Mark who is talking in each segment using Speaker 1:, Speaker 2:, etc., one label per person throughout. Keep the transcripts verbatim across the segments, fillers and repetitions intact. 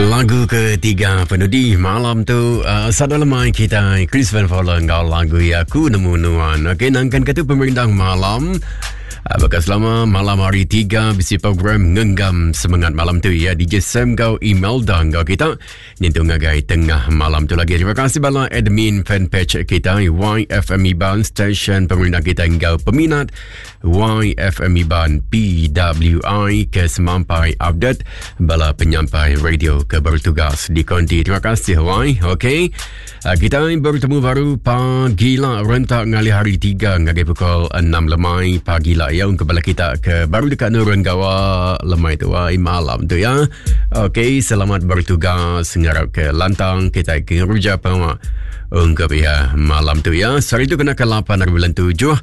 Speaker 1: Lagu ketiga penudi malam tu uh, Sada lemai kita Chris Van Fowler enggau lagu ya Aku Nemu Nuan. Okey, nangkan ke tu pemerintah malam. Uh, Bekas selama malam hari tiga bisi program ngenggam semangat malam tu ya D J Sam gau Imelda enggau kita nyentuh ngagai tengah malam tu lagi. Terima kasih bala admin fanpage kita Y F M Iban station pemerintah kita enggau peminat Y F M Iban P W I ke semampai update bala penyampai radio ke bertugas di konti. Terima kasih Y. Okey. Kita bertemu baru pagi lah rentak ngalih hari tiga ngagai pukul enam lemai pagi lah ya untuk bala kita ke baru dekat nurun gawa lemai tu ay, malam tu ya. Okey, selamat bertugas, ngarap ke lantang kita ke kerja pengawa ungkap ya malam tu ya. Sehari tu kena ke lapan hari bulan tujuh.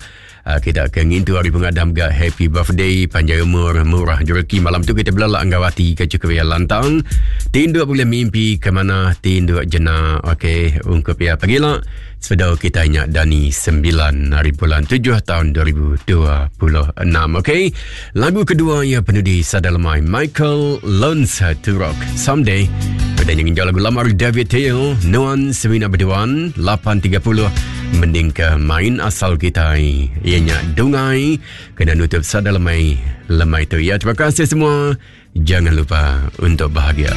Speaker 1: Kita ke ngintu hari pengadam ga happy birthday, panjang umur, murah rezeki. Malam tu kita belalak anggawati ke cukup ya lantang. Tinduk boleh mimpi ke mana, tinduk jenak. Okey, ungkap ya pagi lah. Sebedau kita ingat Dani sembilan hari bulan tujuh tahun dua ribu dua puluh enam. Okey, lagu kedua ya penudi Sada Lemai Michael Learns to Rock Someday. Pada yang ingin lagu lama David Teo, Nuan Semina Berduan lapan tiga puluh mending ke main asal kita ianya Dungai kena nutup Sada Lemai lemai tu ya. Terima kasih semua. Jangan lupa untuk bahagia.